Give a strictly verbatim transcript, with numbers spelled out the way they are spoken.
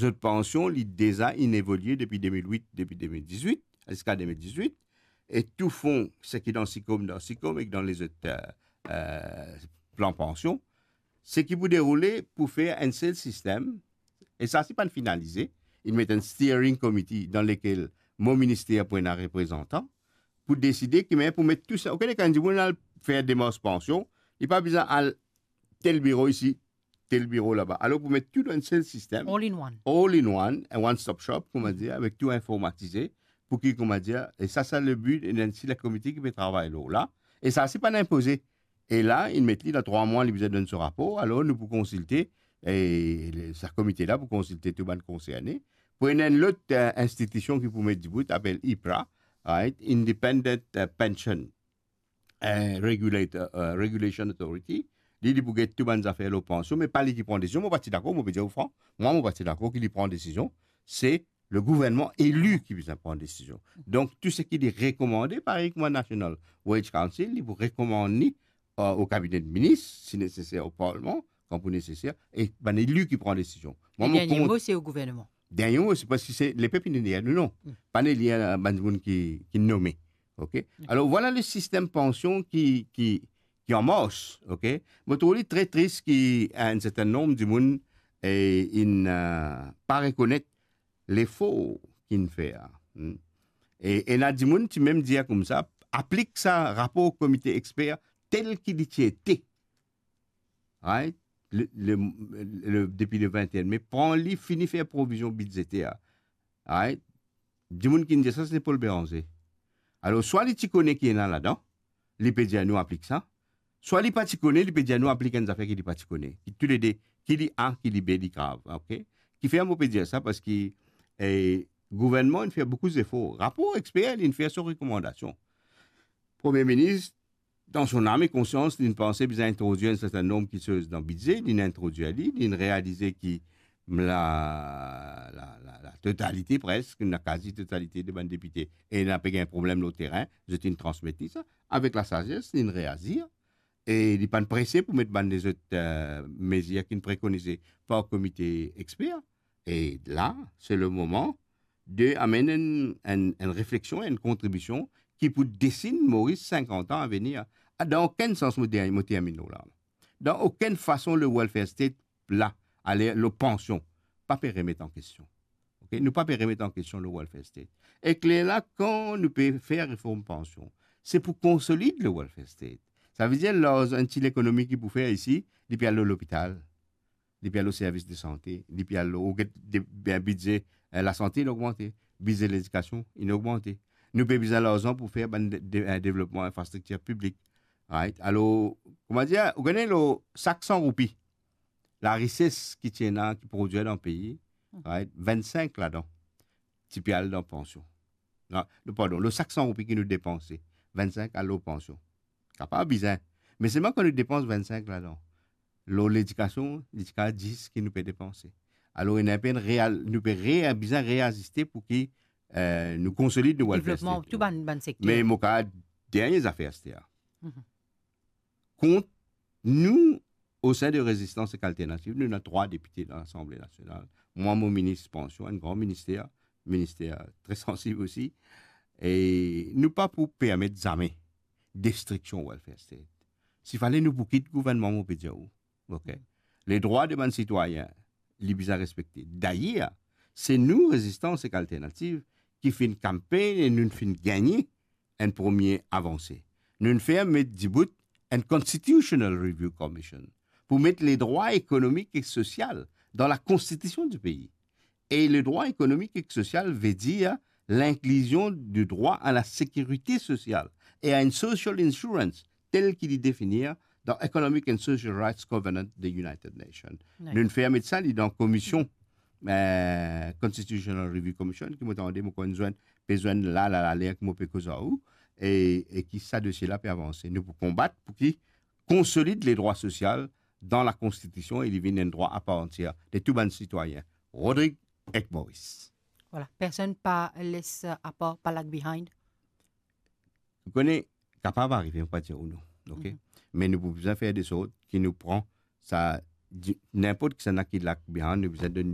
zot pansion, li deza inn evolie depi de mil wit, depi de mil dizwit, ziska de mil dizwit, e tou fon, seki dan SICOM, dan SICOM, ek dan lezot, eh, eh, plan pansion, seki pou deroule pou fer enn sel sistem, e sa si pa'nn finalize, inn met enn steering committee dan lekel mo minister pou ena reprezantan, pou deside ki manier pou met tou sa. Okenn kan dimoun al fer demars pansion, li pa bizin al tel biro isi, tel biro laba. Alor pou met tou dan enn sel sistem, All in one. All in one, un one stop shop, kouma dir, avek tou informatize, pou ki, kouma dir, e sa, sa le bi, e enn sel komite ki pe travay lor la, e sa si pa'nn inpoze. E la, inn met li dan trwa mwa, li bizin donn so rapor, alor nou pou konsilte, e le, sa komite la pou konsilte tou bann konserne, pou ena enn lot, eh, institision ki pou met dibout, apel IPRA, right? Independent, eh, Pension, eh, Regulator, eh, Regulation Authority. Li, li pou get tou bann zafer lor pansion, me pa li ki pran desizion. Mo pa ti dakor, mo pe dir ou fran, mwa, mo pa ti dakor ki li pran desizion. Se le gouvernman eli ki bizin pran desizion. Donk, tou seki li rekomande, parey kouma National Wage Council, li pou rekomann li, eh, o kabine de minis, si neseser, o parlman, kan pou neseser, e bann eli ki pran desizion. Mwa, mo dernie kont mo, se o gouvernman. Dernie mo, se paski se lepep inn elir nou, non. Hmm. Pa'nn elir, eh, bann dimoun ki, ki nome. Ok? Hmm. Alor, vwala le sistem pansion ki, ki, ki an mars, ok? Mo trouv li tre tris ki enn sertin nonb dimoun, eh, inn, eh, pa rekonet lefor ki'nn fer, hmm. E, ena dimoun ti mem dir koumsa, aplik sa rapor komite exper tel ki li ti ete. Right? Le, le, le, depi le vingt et un mai, pran li, fini fer provizion bidzeter. Right? Dimoun ki'nn dir sa, se Paul Bérenger. Alor, swa li ti kone ki ena ladan, li pe dir nou aplik sa, swa li pa ti kone, li pe dir nou aplik enn zafer ki li pa ti kone. Ki toulede, ki li A, ki li B, li grav, ok? Kifer mo pe dir sa, paski, eh, gouvernman inn fer boukou zefor. Rapor exper, li'nn fer so rekomandasion. Premie minis, dan so nam e konsians, li'nn panse bizin introdwir enn sertin nonb kiksoz dan bidze, li'nn introdwir li, li'nn realize ki la, la, la, la totalite preske, la kazi totalite de bann depite, ena pe gagn problem lor terin, zot inn transmet li sa. Avek lasazes, li'nn reazir, e li pa'nn prese pou met bann lezot, eh, mezir ki'nn prekonize par komite exper. E la, se le moman de amenn enn, enn, enn refleksion, enn kontribision ki pou desinn Moris sinkant an avenir. Ah, dan okenn sans, mo dernie, mo terminn lor la. Dan okenn fason, le welfare state la, ale lor pansion, pa pe remet an kestion. Ok? Nou pa pe remet an kestion le welfare state. Ek lerla, kan nou pe fer reform pansion, se pou konsolid le welfare state. Savedir, larzan, enn ti lekonomi ki pou fer isi, li pe al lor lopital, li pe al lor servis de sante, li pe al lor, ou get de, be-, bidze, eh, lasante, inn ogmante, bidze ledikasion, inn ogmante. Nou pe bizin larzan pou fer bann de, de, eh, devlopman infrastriktir piblik. Right? Alor, kouma dir, ou kone lor sak san roupi, larises ki ti ena, ki prodwir dan pei, hmm, right? Vennsink ladan ti pe al dan pansion. Non, non, pardon, lor sak san roupi ki nou depanse, vennsink al lor pansion. Kapav bizin. Me selman kan nou depans vennsink ladan, lor ledikasion, li ti kapav dis ki nou pe depanse. Alor, ena enn real, nou pe re-, bizin reaziste pou ki, eh, nou konsolid nou welfare state. Devlopman tou bann, bann sekter. Me mo kapav dernie zafer, aster. Mhm. Kont nou, o sein de Rezistans ek Alternativ, nou ena trwa depite dan Lasanble Nasional. Mwa, mo minis pansion, enn gran minister, minister tre sansib osi. E nou pa pou permet zame destriksion welfare state. Si fale nou pou kit gouvernman, mo pe dir ou, ok? Ledrwa de bann sitwayin, li bizin respekte. Dayer, se nou, Rezistans ek Alternativ, ki finn kanpegn e nou finn gagne enn premie avanse. Nou'nn fer met dibout enn Constitutional Review Commission pou met ledrwa ekonomik ek sosial dan lakonstitision di pei. E ledrwa ekonomik ek sosial ve dir l'inclusion du droit à la sécurité sociale et à une social insurance, tel ki li definir dan Economic and Social Rights Covenant de United Nations. Right. Nou'nn fer met sa li dan komision, eh, Constitutional Review Commission, ki mo tande, mo konn zwenn, pe zwenn la, la, la, ler ki mo pe koz ar ou, e, e ki sa dosie la pe avanse. Nou pou konbat pou ki konsolid ledrwa sosial dan lakonstitision e li vinn enn drwa aparantier de tou bann sitwayin. Rodrig ek Moris. Voilà, personn pa les apar, pa lag behind. Ou kone, kapav arive, mo pa dir ou non, ok? Mhm. Me nou pou bizin fer de sort ki nou pran sa, di-, ninport kisannla ki lag behind, nou bizin donn li